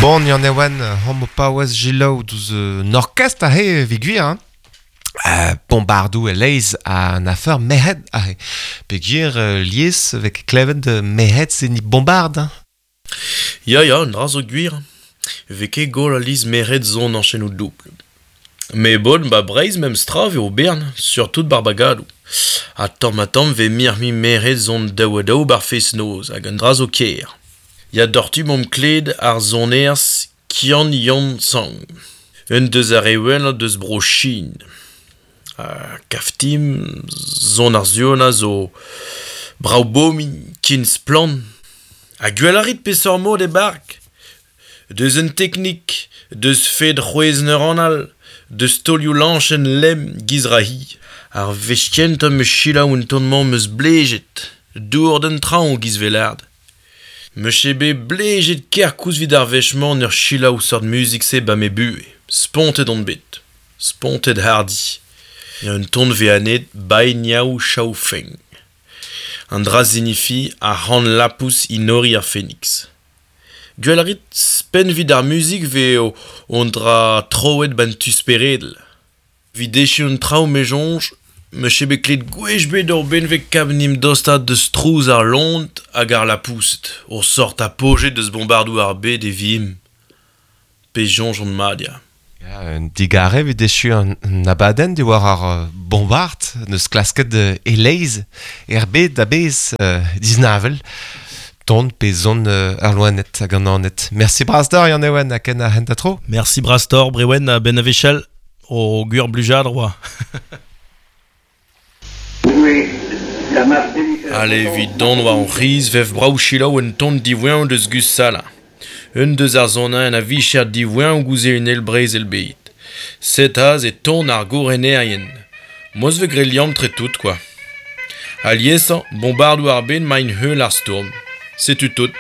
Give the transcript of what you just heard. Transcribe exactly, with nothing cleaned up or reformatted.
Bon, Yann Ewen, homo paouez gilaou douz euh, orkest a he vigwir, hein. Euh, bombardou e leiz a an afer mehed a he. Pegir euh, lies vek klevet de mehed se ni bombard. Hein. Ya, ya, un dra zo gwir. Veke gol a liz mehed zon an chenou double. Me bon, ba breiz mem stra ve o bern, surtout bar bagadou. A tamm a tamm ve mir mi mehed zon daou a daou bar fes noz, hag un dra zo ker. Ya dortu mom kled ar zoners Kian Yon Sang. Un deus ar ewen deus bro Chine. Uh, kaftim, zon ar zion a zo brao bomin kin splan. Ha gwell a rit peseurt mod e bark. Deus un teknik, deus fed c'hwez neuronal, deus tolioù lanchen lem giz rahi. Ar vechkent am eus selaou un ton-mañ meus blejet, dour d'un traoñ giz velard. Meus ket bet blejet ker koulz 'vit ar wech-mañ ur selaou seurt muzik-se ba me buhez. Spontet on bet. Spontet hardi. Ya un ton ve anet Bai Niao Chao Feng. An dra zinifi a c'han lapous inori ar Phoenix. Gwell a rit spen vid ar muzik ve o on dra troet ban tu speredel. Vid echu un traoù me jonj, me chebe klet gwech bet ur benveg kab nim dostad deus trouz ar lont hag ar lapoused, ur sort a pojet deus bombardou ar bet e vim. Pe jonj on mad, ya. Ya, un digare vid echu an, an abadenn diwar ar uh, bombard, neus klasket uh, e leiz, er bet da bez uh, diznavel, ton pe zon uh, ar loanet hag an anet. Merci Brastor, Yann Ewen, ha ken a hent a tro. Merci Brastor, Brewen, a ben a vechel, o gwir blujad, roa. Allez, vid don war an riz, vev brao chilaou un ton divoen deus gus sala. Un deus ar zonañ a vicher divoen gouze un el breiz el beit. Set az e ton ar gorenerien. Moz ve gre liam tre tout, quoi. Aliesañ, bombardou ar ben main heul ar stourm. Setu tout.